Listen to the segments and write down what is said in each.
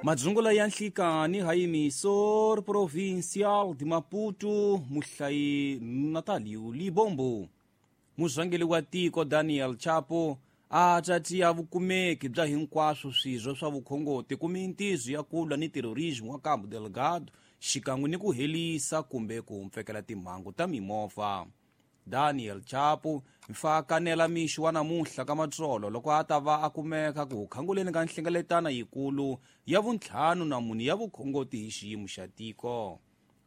Madzungula ya nhlikani ha emisor provincial de Maputo, muhlayi Natalio Libombo. Murhangeri wa tiko Daniel Chapo a tatiya vukumeki bya hinkwaswo swirho swa vukhongoti ku mintizo ya ku lwa ni terrorismo wa Cabo Delgado xikan'we ni ku helisa kumbe ku mpfekela timhangu ta mimovha. Daniel Chapo mfakanela mixo wa namuntlha ka matsolo loko a ta va a kumeka ku khanguleni ka nhlengeletano yikulu ya vuntlhanu na mune ya vukhongoti hi xiyimo xa tiko.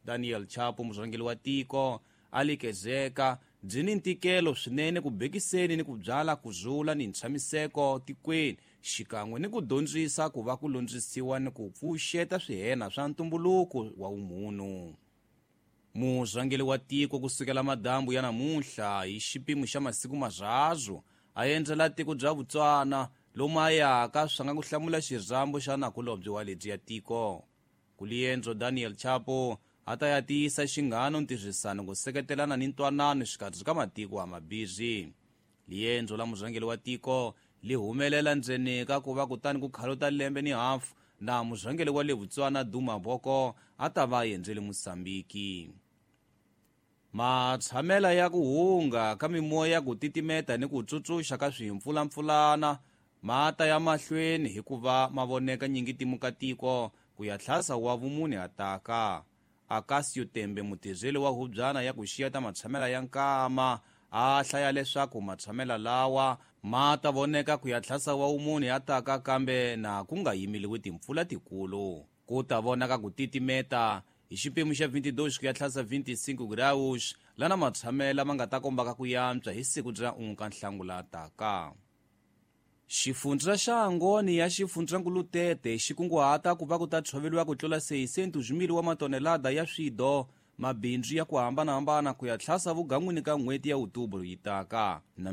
Daniel Chapo, murhangeri wa tiko, a likezeka byi ni ntikelo swinene ku bekiseni ni ku byala ku zula ni ntshamiseko tikweni xikan'we ni ku dyondzisa ku va ku londzisiwa ni ku pfuxeta swihena swa ntumbuluko wa vumunhu. Murhangeri wa tiko kusukela madambu ya namuntlha hi xipimo xa masiku marharhu a endzela tiko bya Botswana lomu a yaka swa nga ku hlamula xirhambo xa nakulobye wa lebyi ya tiko. Ku liendzo Daniel Chapo a ta ya tiyisa xinghano, ntirhisano, ku seketelana ni ntwanano xikarhi ka matiko a mabirhi. Liendzo la murhangeri wa tiko li humelela ndzeni ka ku va kutani ku khaluta lembe ni hafu na murhangeri wa le Botswana Duma Boko a ta va a endzele Mosambiki. Matshamela ya ku hunga ka mimoya, ku titimeta ni ku tsutsuxa ka swimpfulampfulana ma ta ya mahlweni hikuva ma voneka nyingi timuka tiko ku ya tlhasa wa vumune ataka. Akasio Tembe, mutirheli wa hubyana ya ku xiyeta matshamela ya nkama, a hlaya leswaku matshamela lawa ma ta voneka ku ya tlhasa wa vumune ataka, kambe na ku nga yimeliwi timpfula tikulu. Ku ta vonaka ku titimeta hi xipimo xa 22 ku ya tlhasa 25 graus, lana matshamela ma nga ta kombaka ku yantswa hi siku bya unka Nhlangula taka. Xifundza xa Angoni ya xifundzankulu Tete xi kunguhata ku va ku ta tshoveriwa ku tlula 600 wa matonelada ya swido mabindzu ya ku hambanahambana ku ya tlhasa vugan'wini ka n'hweti ya Outubro yi taka na.